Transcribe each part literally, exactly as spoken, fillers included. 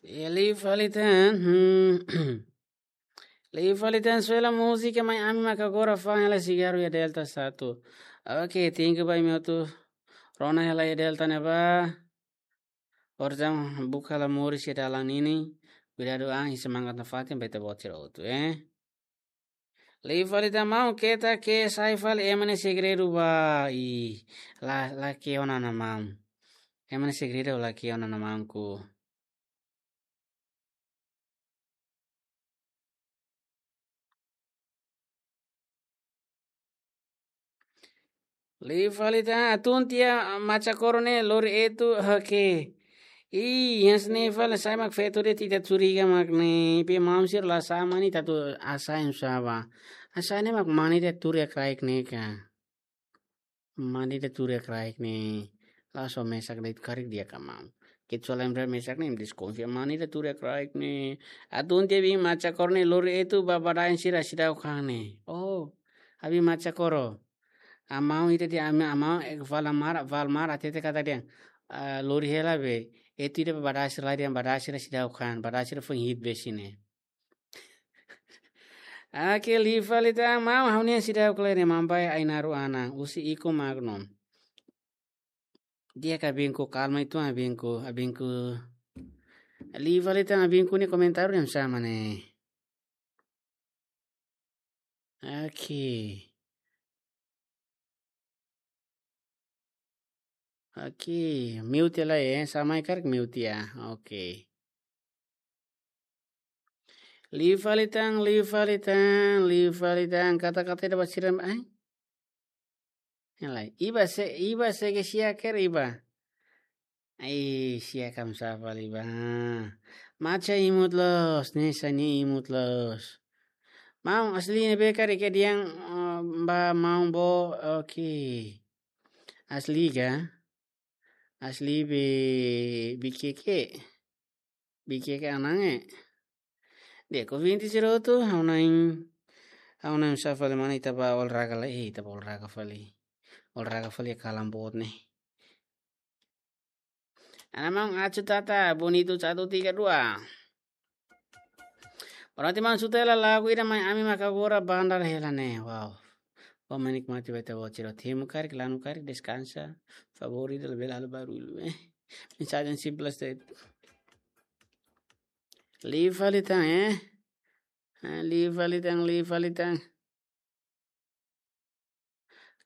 E liu fali tan, hmm. Liu fali tan, só hela múzika, mai ami maka agora fa'an hela sigarru iha Delta satu. Oke, thank you ba imi hotu. Rona hela iha Delta ne'ebá. Orsida buka hela moris iha dalan ninin. Kuidadu an, i semangat nafatin ba ita-boot sira hotu, eh. Liu fali tan maun, keta ke sai fali ema nia segredu ba. Ih, la, la ke ona ona maun. Ema nia segredu la ke ona ona maun ku. Liu fali tan, atun tiha Macha Koro ne'e lori etu, oke. Ih, hanesan ne'e fali sai mak feto de'it, ita curiga mak ne'e. Pe maun sira la sa'e mane ita atu hasa'e oinsá ba. Hasa'e ne'e mak mane ita tuur iha kraik ne'e ka. Mane ita tuur iha kraik ne'e. La só mesak de'it, karik di'ak ka maun. Kecuali ema mesak ne'e, deskonfia mane ita tuur iha kraik ne'e. Atun tiha biin Macha Koro ne'e lori etu ba badaen sira seidauk han ne'e. Oh, biin Macha Koro. Amau ita di ami amau ek valmar, valmar atete kata dehan. Ah, lori hela be. Etu ida ba badaen sira lai dehan badaen sira seidauk han, badaen sira foin hi'it be sine. Oke, liu fali tan maun, ha'u-nian seidauk klere mambai Ainaro Ana, husi Iko Magno. Di'ak ka biin ku, kalma uitoan biin ku, biin ku. Liu fali tan biin ku nia komentáriu ne'e hanesan ne'e. Oke. Oke, mute lai, eh. Sá mai karik mute ya. Oke. Liu fali tan, liu fali tan, liu fali tan. Kata-kata ida ba sira, eh. Yang lain. Iba se, iba se ke sia ker iba. Ai, sia kam sapa liba. Macha imut loos, ne'e sá nia imut loos. Maun asli ne'ebé karik ke diang, eh, ba maun bo, oke. Asli ka? Asli be, be ke ke. Be ke ke anang e. Di'ak, ouvinte sira hotu, ha'u na'in, ha'u na'in sá fali mane ita ba olahraga lai, eh, ita ba olahraga fali. Olahraga fali kalan boot ne'e. Ana maun Achu Tata, bonito, satu, tiga, dua. Berarti maun suta hela lagu ida mai ami maka agora bandar hela ne'e. Wow. Bom menikmati ba ita-boot sira. Temu karik, lanu karik, deskansa. Favoritu, labele halo barullu, eh. Mensajen simples de'it. Liu fali tan, eh. Eh, liu fali tan, liu fali tan.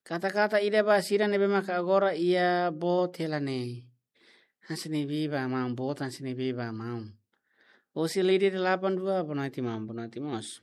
Kata-kata ida ba sira ne'ebé maka agora iha boot hela ne'e. Hanesan ne'ebé ba maun, boot hanesan ne'ebé ba maun. Husi Lidi delapan dua, boa noite maun, boa noite mós.